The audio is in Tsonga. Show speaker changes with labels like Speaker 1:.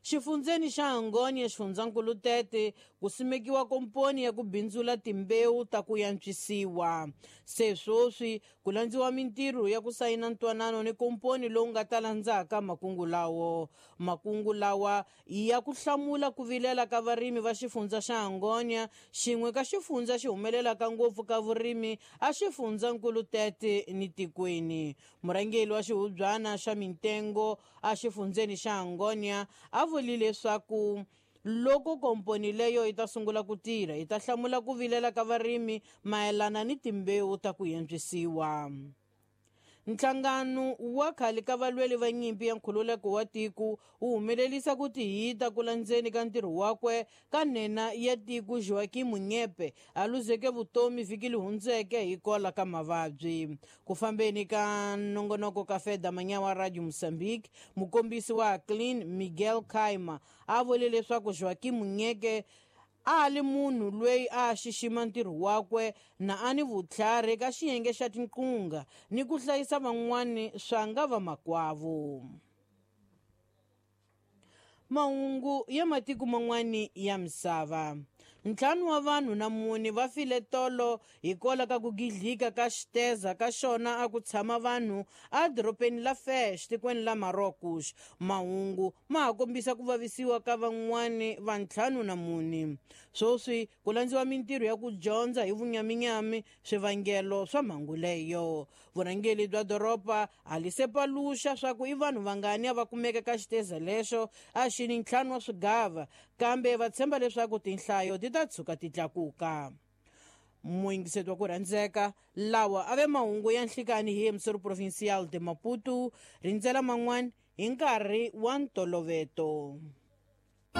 Speaker 1: Xifundzeni xa Angônia xifundzankulu Tete ku simekiwa komponi ya ku bindzula timbewu ta ku yantswisiwa. Se swoswi ku landziwa mintirho ya ku sayina ntwanano ni komponi lowu nga ta landzaka makungu lawo. Makungu lawa i ya ku hlamula ku vilela ka varimi va xifundza xa Angônia, xin'we ka xifundza xi humelelaka ngopfu ka vurimi a xifundzankulu Tete ni tikweni. Murhangeri wa xihubyana xa mintengo a xifundzeni xa Angônia a vuli leswaku loko komponi leyo yi ta sungula ku tirha yi ta hlamula ku vilela ka varimi mayelana ni timbewu ta ku yantswisiwa. Nhlangano wa khale ka valweli va nyimpi ya nkhululeko wa tiko wu humelerisa ku tihita ku landzeni ka ntirho wakwe ka nhenha ya tiko Joaquim Munyepe a luzeke vutomi vhiki leri hundzeke hi kola ka mavabyi. Ku fambeni ka nongonoko ka Feda Manyawa Radio Mozambique, mukombisi wa Clean Miguel Kaima a vule leswaku Joaquim Munyeke a li munhu loyi a xixima ntirho wakwe na a ni vutlhari ka xiyenge xa tinqunga ni ku hlayisa van'wani swa nga vamakwavo. Mahungu ya matiko man'wani ya misava. 5 wa vanhu na 4 va file tolo hikwalaho ka ku gidlika ka xiteza ka xona a ku tshama vanhu edorobeni la Fez tikweni la Marrocos. Mahungu ma ha kombisa ku vavisiwa ka van'wani va 54. Swoswi ku landziwa mintirho ya ku dyondza hi vunyaminyami swivangelo swa mhangu leyo. Vurhangeri bya doroba a li se paluxa swa ku i vanhu vangani a va kumeka ka xiteza lexo a xi ni 5 wa swigava, kambe va tshemba leswaku tinhlayo ti ta tshuka ti tlakuka. Muyingiseti wa ku rhandzeka, lawa a ve mahungu ya nhlikani hi Emissor Provincial de Maputo, rindzela man'wana hi nkarhi wa ntoloveto.